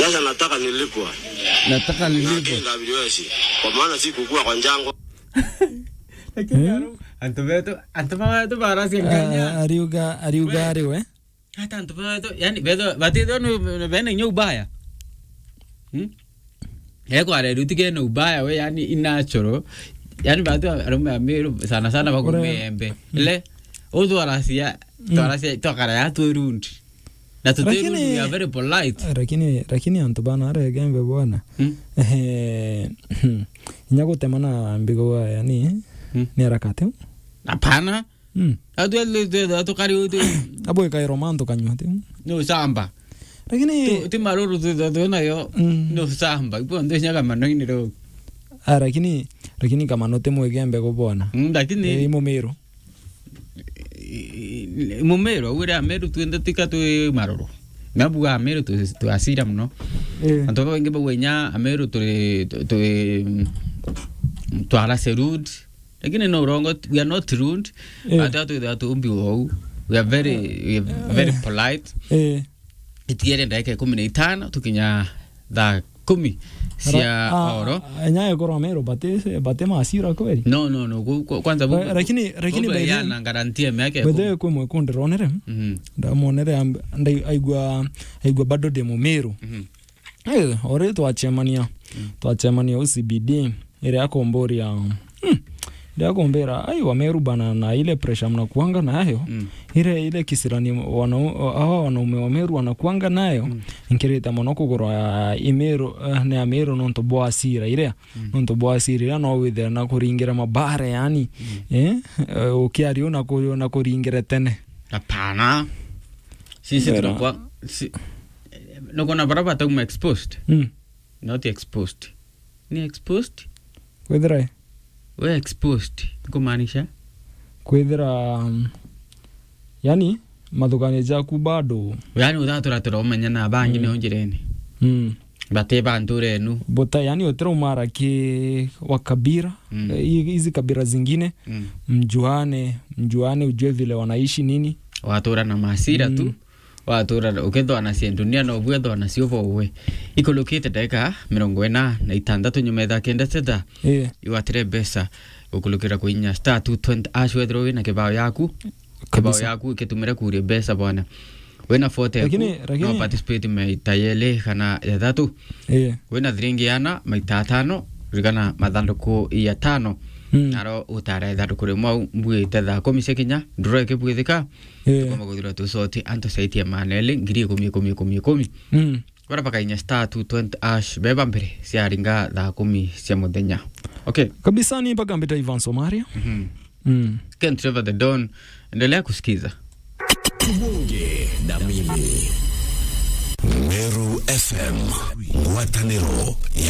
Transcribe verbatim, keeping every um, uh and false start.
Sasa nataka nilipwe. Nataka nilipwe. Na K W S, kwa maana sikukua kwa njangwa. Lakini Eh? Antu betu, antu betu baracia Kenya. Ah, ariuga, ariuga We. ari we. Hata antu betu, yani, betu, batithwa ni, ni bene inya ubaya. Hmm? Eko areruti kene ubaya we, yani, inachoro. Yani, batu arume a Meru, sana sana bakume Ure- embe. Le, utwaracia, Mm. twaracia, twakara ya twi rundi. Na tuti Lakini rundi, we are very polite. Lakini, lakini antu bana arege embe bwana. Hmm? Eh, inya gutema na mbigo wa, yani, Hmm? ni harakati. Hapana. Mm. Atu, atu, atu, atu kari utu. Abo ikairo mantu kanywa ti. No samba. Lakini Tu, ti maruru tu, tu, tu nayo. Mm. No samba. Ipo ndo nyaga manoini ro. Ah, lakini, lakini kama no te mwege mbego bona. Mm, lakini Eh, imo Meru. I, i, Mumeru, au ria Ameru twende tika twi maruru. Nabu Ameru tu, tu asira muno. Eh. Antu baingi bauga inya Ameru turi, tu, tu, mm, twara serud. Lakini no urongo, we are not rude. Eh. Ati atu, atu umbi wou. We are very, we are very Eh. polite. Eh. Itiere ndagika ikumi na itano, tukinya thaa kumi cia Ara-, a, oro. A, nya ekorwa Meru, bate, bate masira kweli? No, no, no, ku-, ku-, kwanza Ra-, bu-, lakini, lakini bu-, by the way, yana guarantee ya miaka by the way, ikumi. Kwi mwe kundironere, Mhm. ndamonere amb-, ndai-, aigua, aigua bado ndi Mumeru. Mhm. Eh, ore twachemania. Mm. Twachemania U C B D, ire akomboria, hmm, ire akombera, "Ai, Wameru bana, na ile pressure mnakuanga nayo, Mm. ile, ile kisirani wana-, hawa wanaume wa Meru wanakuanga nayo, Mm. nkirite mono kugurwa ya Imeru, eh, ni Ameru nontu bwa asira iria, Mm. nontu bwa asira iria no withire na kuringira mabare, yani, Mm. eh, eh, ukiaria na ku-, na kuringire tene." Hapana. Sisi Mbera. tunakuwa, si-, Nukona bara batauma exposed? Mm. Not exposed. Ni exposed? Kwithira i? We exposed, kumaanisha? Kwithira, um, yani, mathuganio jaku bado. Yani, uthatura turaumenya na bangi Mm. nio njirene. Mm. Bate ba nturenu. Buta, yani, utiraumara ki wa kabira, Mm. eh, hi-, hizi kabira zingine, Mm. mjuane, mjuane, ujue vile wanaishi nini. Watura na masira tu. Mm. Watura ukethwa na cia dunia, no bwethwa na cio bowe. Ikulukite ndagika mirongo ina na itantatu nyuma etha kenda cetha. Ii. Iwatire mbeca ukulukira kuinya star two twenty hash wethirwa wina kibao yaku. Kibao Kabisa. yaku ikitumire kuria mbeca bwana. Wina forty Lakini, eku, lakini no participate maita yeli kana ya thatu. Ii. Wina thiringi yana maita atano, ririkana mathanduku ya tano. Mm. Naro utara ithanduku rimwe au mbuite thaa kumi cia kinya, nduro ikibwithika. Ii. Tukoma kuthirwa tusoti antu saitia maneli, ngiri ikumi, ikumi, ikumi, ikumi. Mm. Bara bakainya star two twenty hash, beba mbere, ciaringa thaa kumi cia muthenya. Okay. Kabisa ni mpaka mbita Ivan Somaria. Mhm. Mm. Ken Trevor the Don, endelea kusikiza. Tubonge na mimi. Meru F M, ngwatanĩro ya